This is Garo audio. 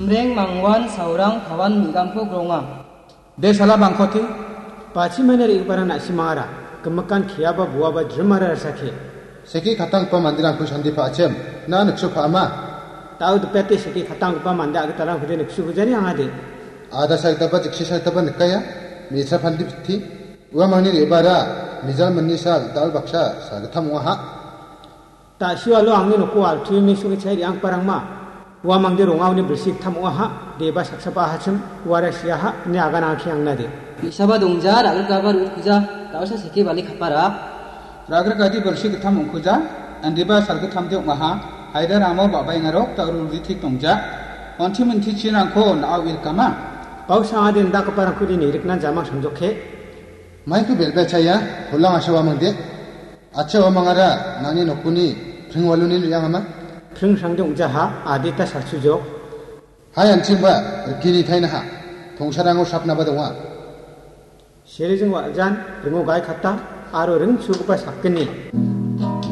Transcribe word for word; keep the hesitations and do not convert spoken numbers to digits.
Neng mangwan saurang pawan migamko gronga. De sala bangkoti, pachi mene ri ibarang nasi mangara, kemekan kiaba buaba jremara rasake. Seki katang pa mandirang ku sandi pa achem, na niksu pa ama. Tau depete seki katang pa manda agitalang kude niksu kujani angade. Ada saitaba jiksi saitaba nikaya, mitra pandi bitti. Ua mangni ri ibara, mijal menni sal, dal baksa, sal gittam ong·aha. Ta·sio alo angni noko altuimi songe chairi angparangma. Ua mangde rongaoni bilsi gittam ong·aha, deba saksaba ahachim, uara siaha, ine agan angke angnade. Bi·saba dongja, ra·grikaba ro·itkuja, da·osa seke bali kapara. Ra·grikadi bilsi gittam ong·kuja, indiba salgittamde ong·aha, haida ramo ba·baengarok da·o ruri tik dongja. Onti minti chinrangko na·o irkama. Bausa ade indakgiparangkode nirikna jamang samjoke. Maiko belbel chaya, holang asa ua mangde. Acha ua mangara, nangni nokoni pring waluni re·angama. Pring srangde ong·jaha, adita salsujok. Hai anchimba, rikini thainaha. Tongsarango sapnaba donga. Serijing wa·jan, ringo gai kata, aro ring chugipa sakgni.